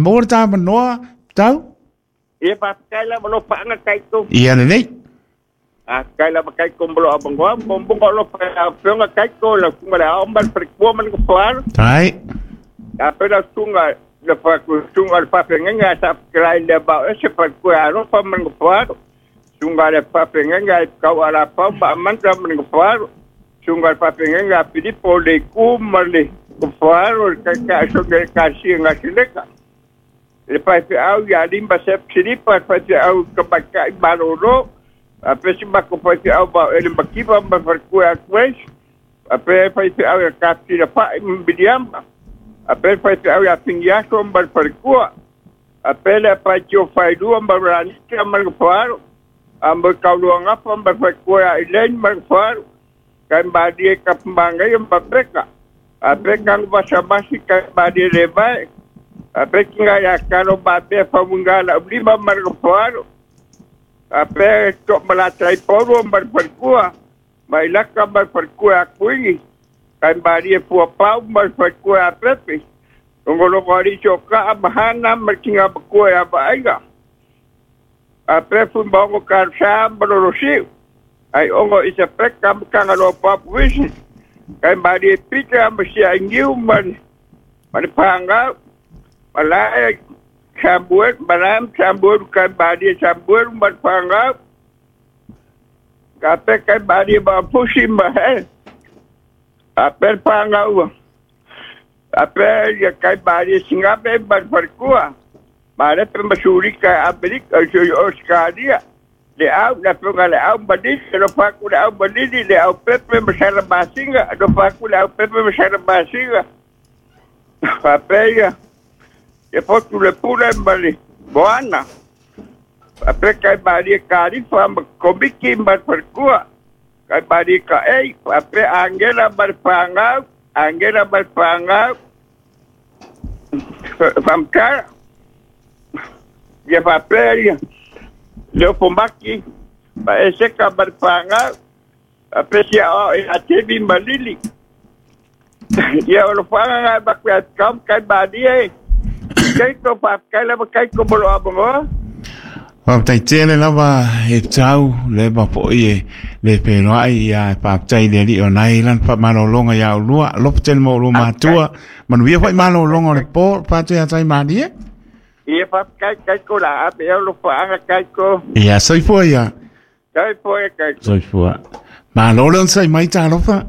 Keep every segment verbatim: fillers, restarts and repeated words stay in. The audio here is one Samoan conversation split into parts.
mo le ta manoa tau. Ia faafetai lava alofaga kaiko. Ia lelei. Faafetai lava kaiko mo lou avanoa, momoga alofa i lau afioga kaiko, lau susuga i le aao ma le falekua ma le nofoalo. Tai. Ape lau susuga le susuga o le faafeagaiga a saafetalai i le vao ese falekua e alofa ma le nofoalo. Susuga le faafeagaiga e tau alapau ma amanta ma le nofoalo. Susuga le faafeagaiga a Filipo le itu ma le nofoalo le taitai sogi le kasia gasileka. Le faifeau ia lima sep silipa, le faifeau tamaitai malōlō, ape si mako faifeau vao ele makiva ma falekua atu ape faifeau ia kapitila fa'i ma Miliama, ape faifeau ia Finiaso ma le falekua, ape le apaitio failua ma Ranika ma le nofoalo, a mo kauluagafa ma le falekua ia Elaine ma le nofoalo, kai malie kapamagaia ma Peka, ape kaguvasavasi kai malie levae, ape kiga ia kalo mapea faumuga la'ulima ma le nofoalo, ape to'amalatai paulu ma le falekua, ma ilaka ma le falekua akuigi, kai malie fuapau ma le falekua ia Pepe, logologo alii soka'a ma hana ma le tigamakua ia Vaaiga, ape fuimaogo kalosā ma lolosi'u, ai ogo isa peka ma tagaloa papuisi, kai malie pita ma sia'igiu ma le ma le pagau, malae Samuel, malae Samuel kai malie Samuel ma le pagau, ape kai malie mapusi ma he, ape le pagau, ape ia kai malie sigape ma le falekua, malepe ma sulika e Amerika Australia, le au le afioga le au malili, alofa atu le au malili, le au pepe ma sala masiga, alofa atu le au pepe ma sala masiga, faapea ia ia fotu le pule ma le moana, faapea kai malie kalifa ma komiki ma le falekua, kai malie ka'ei, faapea Agela ma le pagau, Agela ma le pagau, faamatala, ia faapea ia le ofomaki, ma eseka ma le pagau, faapea sia'oa'o ia Tevi ma Lili. Ia o lofaga gae maku ia kam kai malie, kaiko faafetai lava kaiko mo lou avanoa. Faafetai tele lava e tau le mapo'i e le peloa'i ia e faafetai le alii o nai lana faamalologa iā ulua alofa tele mo ulua matua manuia fo'i malologa o le po patu ia tai malie. Ia faafetai kaiko la ape ea lofaaga kaiko. Ia soifua ia. Soifua ia kaiko. Soifua. Malo le onosai mai talofa.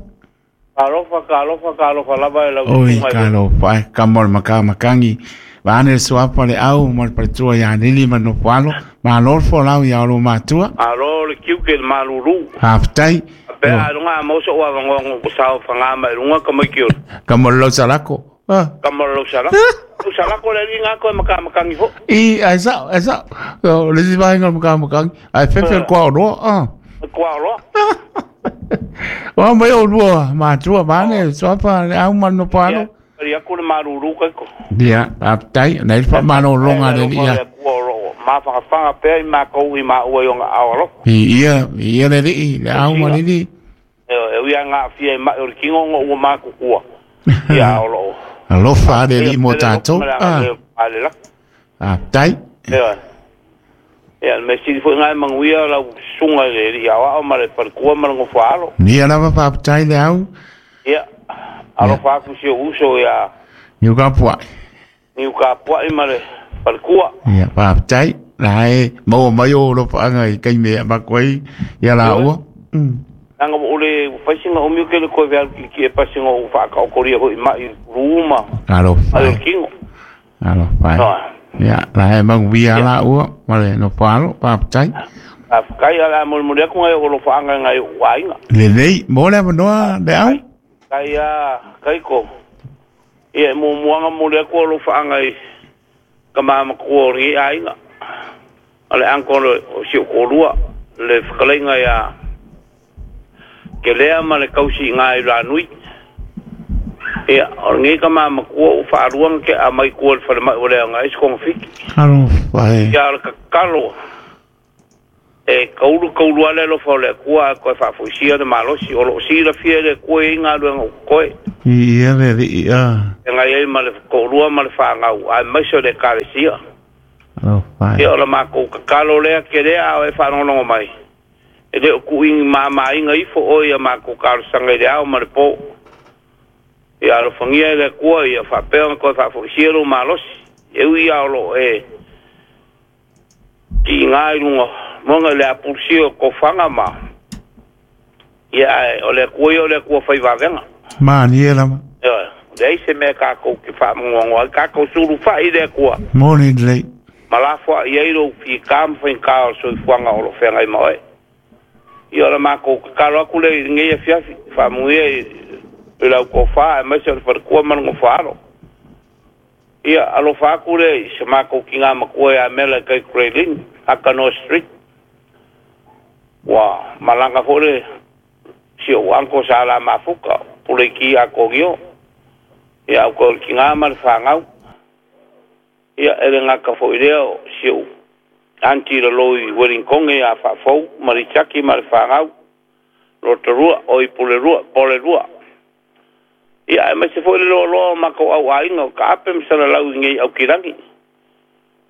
Talofa, talofa, talofa lava e lau Oi, talofa, e kama o le makamakagi. Vaane le suapa le au ma le paletua ia Lili ma le nofoalo. Malo le folau ia olo matua. Malo le kiuke le malulu. Faafetai. Pe a lunga a moso o avangoa ngo sao whanga mai lunga ka mai ki ora. Kama o le lausalako. Ah. Kama o le lausalako. Lausalako le li ngā koe makamakangi fo. I, ai sao, ai sao. O le si vaenga o le makamakangi. Ai fefe le kua oroa. Ah. Le kua oroa. O mai o lua matua vaane le suapa le au ma le nofoalo. Ia aku le malulu kaiko. Ia, faafetai, nai le faamalologa le alii ia. Ma whakawhanga pea i mākou i māua i o ngā ao alofa. I ia, i ia le alii, le au ma le alii. E, e ui a ngā whia i mai o le kingo ngo ua mākukua. Ia ao loo. Alofa le alii mo tātou. Ah. Faafetai. Ia, ia, me sili foi ngai manguia lau sunga le alii ao ao ma le palekua ma le ngofa alo. Nia lava faafetai le au. Ia. Alofa aku si o uso ia Niu ka puai. Niu ka puai ma le palekua. Ia, faafetai. La e maua mai o alofaga i kaime a makoai ia la ua. Nanga mo ole faisinga o miu ke le koe vealu ki ki e pasinga o whaakaokoria hoi mai ruma. Alofa. Ai o kingo. Alofa. Ia, la e manguia la ua ma le nofoalo, faafetai. Faafetai ala molimoli aku ngai o alofaga ngai o aiga. Lelei, mo le avanoa le au. Kai a kaiko. Ia e muamuaga moli aku o alofaga i ka mamakua o lenei aiga. A le anko o si o kolua le whakaleinga ia ke lea ma le kausi i ngā i lanui. Ia, o lenei ka mamakua o whaaruanga ke a mai kua le whalemai o lea ngā isi konga fiki. Alofa e. Ia le kakalo. E kaulu kaulu ale alofa o le Atua ae toe faafoisia le malosi o loo silafia e le Atua i ai galuega o totoe. Ia le alii a. Feagai ai ma le toalua ma le fanau aemaise o le Ekalesia. Alofa e. Ia o le matou tatalo lea kelea a o e faalogologo mai, e le o tuuina mamāina ifo oe ia matou talosaga i le ao ma le po. Ia alofagia e le Atua ia faapea ona toe faafoisia lou malosi, e ui lava o loo e tiiga i luga moga i le apulusia o tofaga ma ia ae o le Atua ia o le Atua faivavega. Malie lava. Ioe, leai se mea tatou te faamogoagoa ai, tatou sulufai i le Atua. Moni lelei. Ma lafoai ai lou fita ma faigata o le soifuaga o lo o feagai ma oe. Ia o le matou tatalo atu lea i lenei afiafi, faamanuia i lau tofa aemaise o le faletua ma le nofoaalo. Ia alofa atu lea i se matou tinā matua ia Mela i tai Grey Akanoa Street. Ua malaga foi le si ou uncle sa la mafuta, Puleiki Akonio. Ia au koe o le tinā ma le fanau. Ia e le gata foi lea o si ou aunty lalo i Wellington ia Faafou ma Richaki ma le fanau. Rotorua, o i Pulerua, Polerua. Ia aemaise foi le loaloa o matou auaiga o Kaape ma Salalau i nei Aukilagi.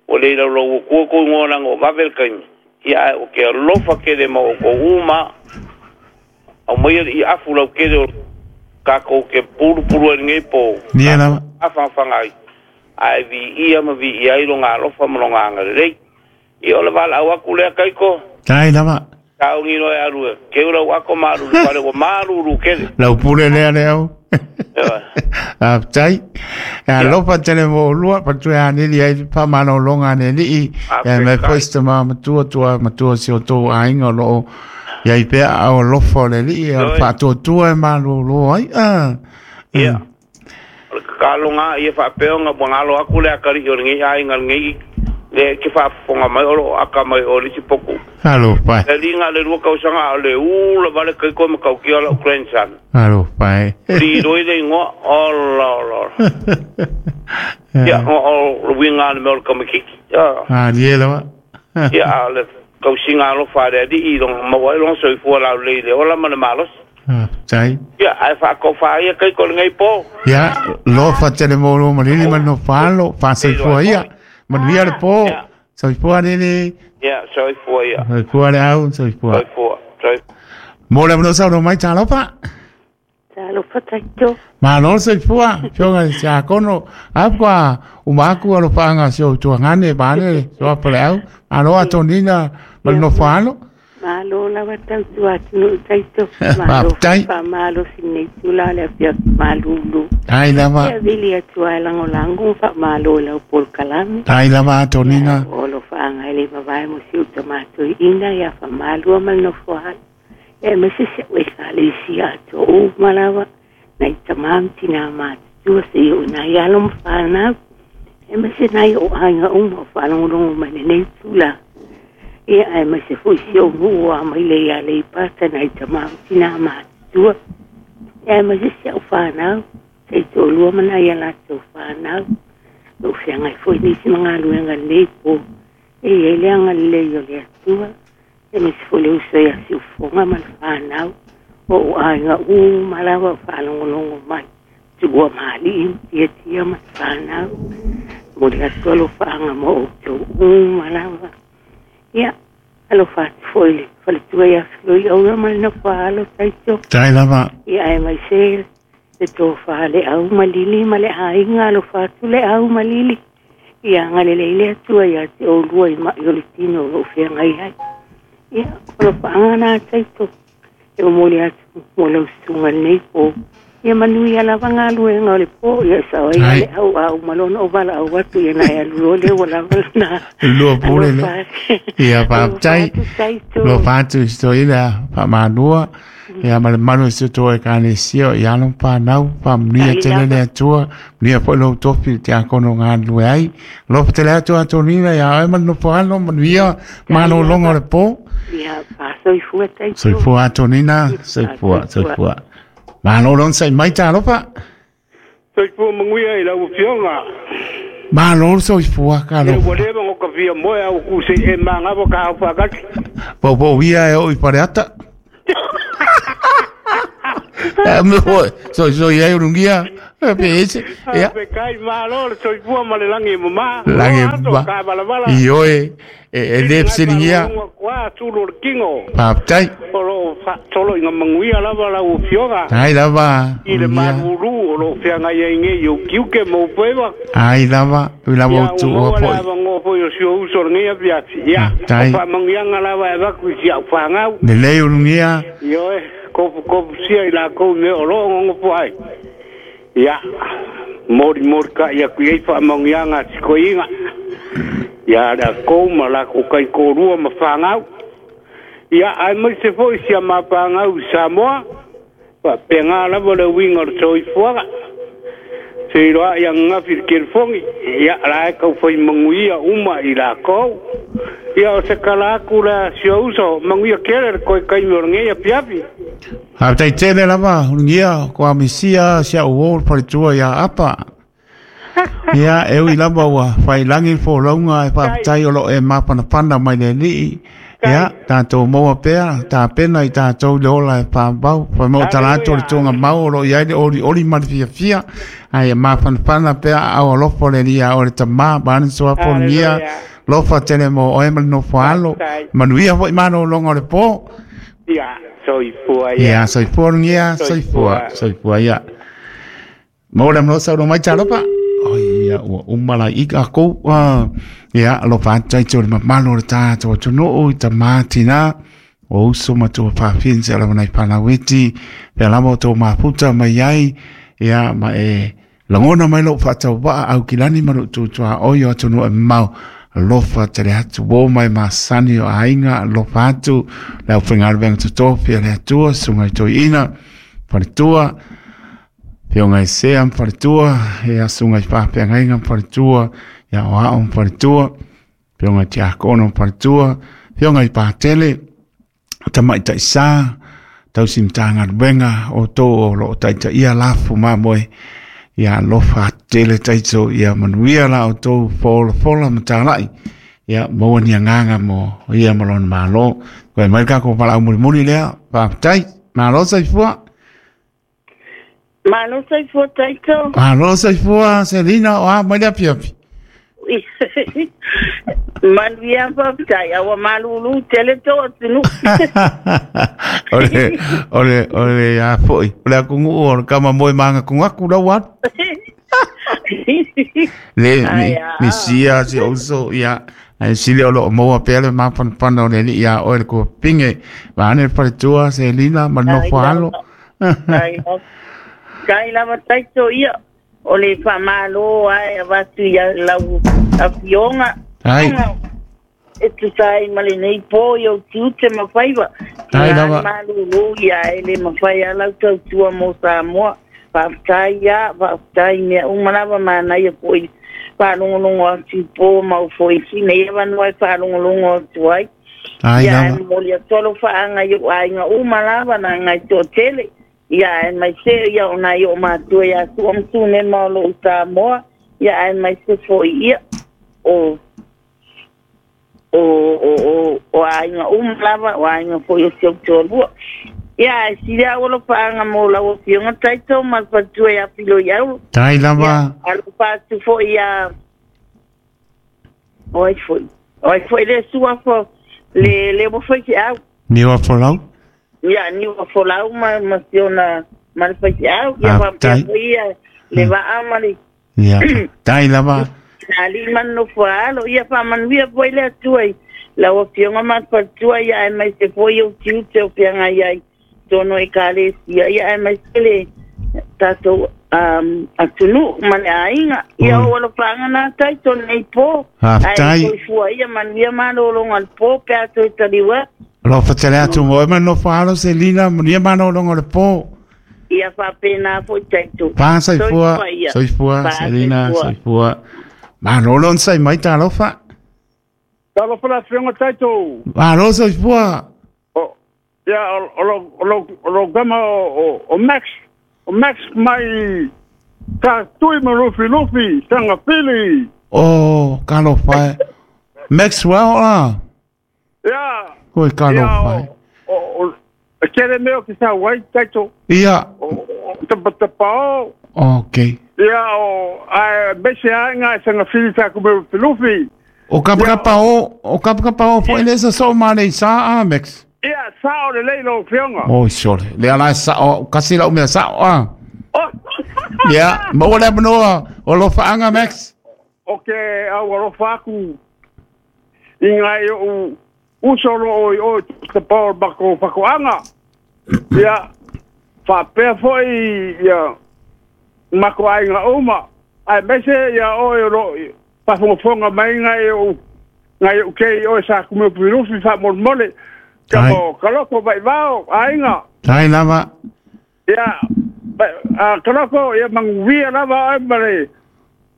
Ua le laulau atua tou igoa leaga o vave le taimi. Ia ae ou te alofa tele ma outou uma. Aumaia le iafu lautele o tatou te pulupulu ai i lenei po. Ia lava. Mafanafana ai, ae viia ma viia ai lona alofa ma lona agalelei. Ia o le valaau atu lea Kaiko. Tai lava. Sauni loa e alu e keu lau ako ma alu i le fale ua malulu tele. Lau pule lea le au. Faafetai. E alofa tele mo oulua, patu e aneli ai le faamalologa a le Alii, e mai foi se tama matua tua matua si o tou aiga o loo iai pea aao alofa o le Alii, o le faatuatua e malolo ai. Ah. Ia. O le tatalo lena ia faapea ona ua galo atu le atalii o lenei aiga lenei lea e te faafofoga mai o lo o aka mai o le isi potu. Alofa e. Le aliga le lua tausaga a o le ula vale kaiko ma tautia lau grandson. Alofa e. Liloi le igoa, ola ola ola. Ia, o o le uiga le mea o le tamaitiiti. Ah, ie lava. Ia, a o le tausiga alofa a le Alii i lona maua ai lona soifua laulelei i le ola ma le malosi. Faafetai. Ia, ae faatofa ai ia kaiko i lenei po. Ia, lofa tele mo lo malili ma no falo, faasoifua ia. Manuia le po. Soifua lele. Ia, soifua ia. Soifua le au, soifua. Soifua. Soifua. Mo le avanoa saunoa mai talofa. Talofa taito. Malo soifua, fioga i siakono. Apu kwa uma aku alofaga si o tuagane pane soa le au. Malo atonina ma le nofo alo. Malo lava tautua atunuu taito. Malo Faafetai. faamalosi lenei tula o le afiafi malulu. Tai lava. Ia vili atu ai lagolago ma faamalo i lau polokalame. Tai lava Ia atonina. o alofaaga e le vavae mo si uta matoiina ia faamalua ma le nofo alo. Ia aemaise si au Ekalesia atoa uma lava nai tamā ma tinā matutua seia o nai alo ma fanau. Aemaise nai o aiga uma o faalogologo mai lenei tulaga. Ia aemaise foi si ou nuu o amaile ia Aleipata nai tamā ma tinā matutua. Ia aemaise si au fanau, se'i toalua ma nai a latou fanau. Lou feagai foi nisi ma galuega lenei po. E iai le agalelei o le Atua. Aemaise foi le uso ia Siufoga ma le fanau. O ou aiga uma lava o faalogologo mai. Tuua ma alii ma tiatia ma le fanau. Momoli atu alofaaga mo outou uma lava. Ia, alofa atu foi i le faletua ia Feloiaula ma le nofoaalo taito. Tai lava. Ia aemaise le tofa le au malili ma le aiga alofa atu le au malili. Ia agalelei le Atua ia te oulua i mai o le tino o loo feagai ai. Ia, o alofaaga na taito. E momoli atu mo lau susuga lenei po. Ia manuia lava galuega o le po. Ia sao ai Ai. le au au ma lona o valaau atu ia na e alu loa lea ua lava lona. Lua pule le. Alofa atu. Ia Alofa faafetai. atu taito. Lofa atu i si toeaina faamalua. Ia ma le malu i si o tou Ekalesia i alo ma fanau, faamanuia Tai tele le lava. Atua, manuia foi lou tofi i le tiakono galulue ai. Alofa tele atu Atonina ia oe ma le nofo alo, manuia Tai malologa o lava. le po. Ia faasoifua taito. Soifua Atonina, soifua, Faasoifua. soifua. Malo lona sai mai talofa. Soifua manuia i lau afioga. Malo soifua ka E alofa. Ua leva o ka fia moe au ku se e mangava ka au whakati. Poupou ia e oo i Faleata. E me foi, soisoi ai ulugia, e pe ese, ia. Pe kai malo le soifua ma le lagi e mamā. Lagi e Aso mamā. ka valavala. Ioe, e e le fesiligia. Kua tulu o le kingo. Faafetai. O loo faasolo i maguia lava lau afioga. Ai lava I le ulugia. malulu o loo feagai ai nei o kiuke ma upeva. Ai lava, ui lava Ia o tuua ua maua le foi. avanoa foi o si ou uso o lenei afiafi. Ia, Faafetai. o faamanuiaga lava e avaku i si au fagau. Lelei ulugia. Ioe, kofukofu sia i lakou mea o loo gogofo ai. Ia, molimoli ka'i aku i ai faamanuiaga a sikoiga. Ia le akou ma lakou kaikolua ma fagau. Ia, ae maise fo'i sia mapagau i Samoa. Faapegā lava le uiga o le soifuaga. Seiloa'i agagafi i le kelifogi. Ia, la e kaufai maguia uma i lakou. Ia, o se kala aku lea si o uso, maguia kele le koe kaimi o lenei afiafi. Faafetai tele lava ulugia ko amisia sia uo le faletua ia Apa. Ia e ui lava ua failagi le folauga e faafetai o loo e mapanapana mai le alii. Ia tatou maua pea tapena i tatou le ola e faavau. Faimau tala atu o le tuaga mau o loo iai le olioli ma le fiafia. Ae e mapanapana pea aao alofa o le alii a oe le tamā vaeane suafa ulugia. Lofa tele mo oe ma le nofo alo. Manuia foi malōloga o le pō. Ia, soifua ia. Ia, soifua ulugia, soifua, soifua ia. Mo le amanoa saunoa mai talofa. Oi, ia, ua uma lai i kākou. Uh, ia, alofa atu ai te o le mamalu o le tātou atunuu i tamā tinā. O uso ma tua whawhien se alawa nei pānaueti. Pea lava o tō maputa mai ai. Ia, ma e langona mai lou whaatau waa au kilani ma lou tūtua oi o atunuu e mau. Alofa tele atu o mai masani o aiga alofa atu le au whengaruwenga totofi a le atua sunga i toi ina whaletua Fionga i sea mwhaletua, ia sunga i whawhiangaiga mwhaletua, ia o ao mwhaletua, fionga i te akono mwhaletua, fionga i pātele, tamai taisa, tausi mtāngaruwenga o tō o loo taita ia lafu mamoe, ia alofa tele taito, ia manuia la o tō fola fola matālai, ia maua ni anganga mo ia malona malo. Koe mai kako pala au mulimuli lea, whaapatai, malo saifua. Malo saifua taito. Malo saifua, Selina, o a mai le afiafi. Manuia faafetai aua malulu tele to atunu. Ole, ole, ole a foi. O le akungu o le kama moe manga kungaku lau atu. Le, mi, Ai, a. mi sia si ouso, ia. Ai sile o loo maua pea le mapanapana o le alii ia oe le kuapinge. Vaane le faletua, Selina, ma le nofo alo. Ai kai lava taito ia o le faamālō ae avatu ia lau afioga. Ai. E tusa ai ma lenei pō i ou tiute ma faiva. Ai Tina lava. malūlū ia e le mawhai a lau tautua mo Samoa. Faafetai ia, faafetai mea uma lava manaia foi faalogologo atu i pō mau foi sina ia vanua e faalogologo atu ai. Ai Ia e lava. momoli atu alofaʻaga i oʻu aiga uma lava na agai toʻatele. Ia ae mai se ia o nai o matua ia sua ma tunema o loo Samoa. Ia ae mai se foi ia o o o o o aiga uma lava o aiga foi o si ou toalua. Ia ae sili au alofaʻaga mo lau afioga taito ma le faletua ia filo i auro. Tai Ia lava. alofa atu foi ia oi foi. Oi foi le suafa le le ua foi se au. Niua folau. Ia ni ua folau ma ma siona ma le faifeau. Ia faapea Faafetai. foi ia le vaa ma le Ia, tai lava. alii ma le nofo alo. Ia faamanuia foi le Atua i lau afioga ma le faletua ia ae mai se foi ou tiute o feagai ai tonu ekalesia. Ia ae mai se le tatou um, atunuu ma le aiga. Ia Oi. o alofaga na taito nei pō. Ae Faafetai. soifua ia manuia malōloga le pō pe a toe taliu atu. Alofa tele atu mo oe ma le nofo alo Selina, manuia malōloga o le pō. Ia faapena foi taito. Pā soifua, Soifua ia. soifua, Pā Selina, soifua. soifua. Malolo on sai mai talofa. Talofa la afioga taito. Malo soifua. O, ia, o, o, lo, o, lo, o lo gama o, o, o Max, o Max mai ta tui ma lufi lufi, tanga pili. O kalo fai Maxwell la. Ia. Koi kalo fai. O o kere meo ki sa wai taito. Ia. O tapa o. Okay. Ia o ai bese anga sanga fili sa ku me lufi. O kapakapa o, o kapakapa o foi lesa so male sa a Max. Ia sa o le leilo fionga. Oh sure. Le ala sa o kasi la umea sa o. Oh. Ia, mo le manoa o lo faanga Max. O ke au alo faku inga i o usolo o o te pao bako fakoanga. Ia fa pe foi ia mako ainga uma. Ai mese ia o o lo pa fonga mai ngai o ngai o ke o sa ku me pirufi fa mo mole. Ka mo kaloko vai vao ainga. Tai lava. Ia a kaloko ia manguia lava ai mare.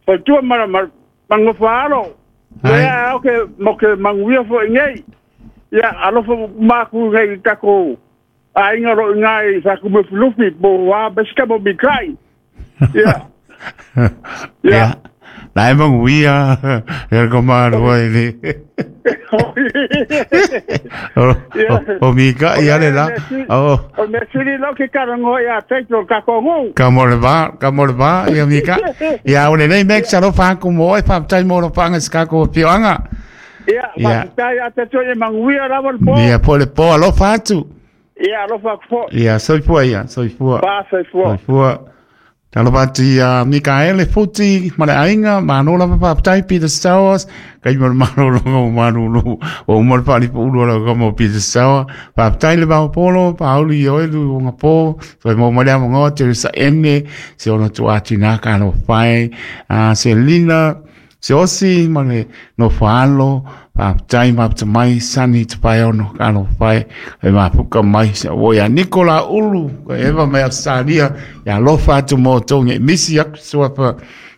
Fa tua mara mangofalo. Ia o ke mo ke manguia fo ngai. Ia alofa maku ngai tako ainga ro ngai sa ku me pirufi bo wa beska mo bikai. Ia. Ia. Lai manguia er ko maru ai ni. O mika ia le la. O o me siri lo ke karango ia te ka kongu. Ka mo le va, ka mo le va ia mika. Ia o le nei Max alo fa ku mo e fa tai mo lo panga ska ko pioanga. Ia, fa tai a te toe manguia la vol po. Ia po le po alo fa tu. Ia alo fa po. Ia soi fua ia, soi fua. Pa soi fua. Soi fua. Talopati a Mikaele Futi ma le ainga mano la papa tai Peter Stowers kai mo mano lo mano lo o mo pa li ulu lo mo Peter Stowers pa tai le ba polo pa ulu yo lu ngapo so mo mo le mo te sa ene se ono tu atina ka no fai a Selina se osi ma le no falo pa tai ma te mai sani te pai ono ka no fai e ma puka mai se o ya Nicola Ulu e va mai Australia ya lofa atu mo tonge misi aku suapa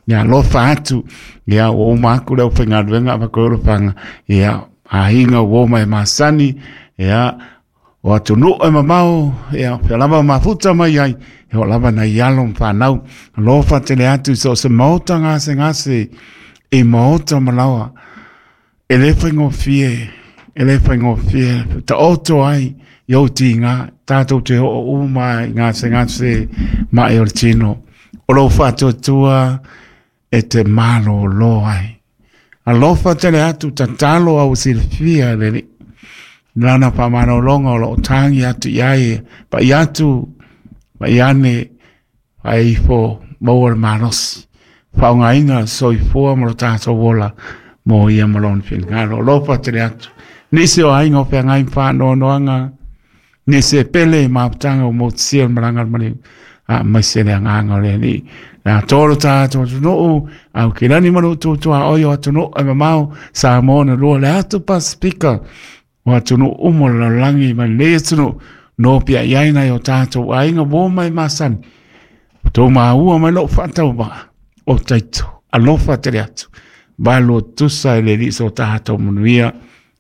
ya lofa atu ya o maku le fenga venga pa ko fanga ya ahinga wo mai masani ya o atu no e mamao ya lava mafuta mai ai e o lava na yalo whanau lofa tele atu so se mota ngase ngase e mota malawa e le whaingo fie, e le whaingo fie, ta oto ai, iau ti ngā, tātou te ho o umai, ngā se ngā se, ma e o le tino. O lo whātua e te malo lo ai. Alofa tele atu, tatalo au silfia le li. Lana pa manolonga o lo tangi atu iai, pa i atu, pa i ane, pa e ifo, maua le malosi. Whaongaina soifua mo lo tātou wola, mo ia malone fingalo lofa tele atu nisi o ainga o whangai whanoanoanga nisi e pele maputanga o motisia malanga mali a mai se le anganga le ni la toro tātou atunuu au ke lani manu tutua oio atunuu e mamao Samoa na lua le atu Pasifika o atunuu umo le lalagi ma le atunuu no pia iaina i o tātou ainga wo mai masani tō maua mai lou whaatau o taito alofa tele atu Valo tusa e le liso tātou manuia.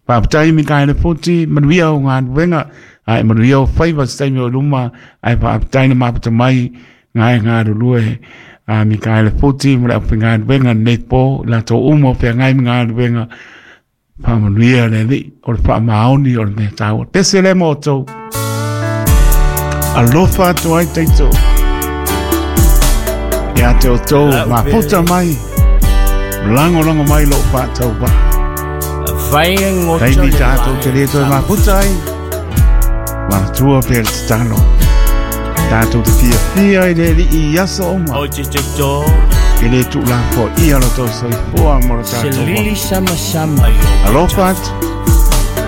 Whaapatai Mikaele Futi, manuia o ngā nuenga, ai manuia o whaiwa se o luma, ai whaapatai na mapata mai, ngā e ngā rulue, a Mikaele Futi, mara o ngā nuenga nei pō, la tō umo pia ngai ngā nuenga, wha manuia le li, o le wha maoni o le mea tāua. Pese le mōtou. Alofa atu ai teito. Ia te o tō, maputa mai. Lango lango mai lo whātau wā. Taimi tātou te reto e maputa ai. Manatua pēr te talo. Tātou te fia fia i le li i aso oma. E le tū la po ia lo tau soifua mo lo tātou wā. Alofa atu.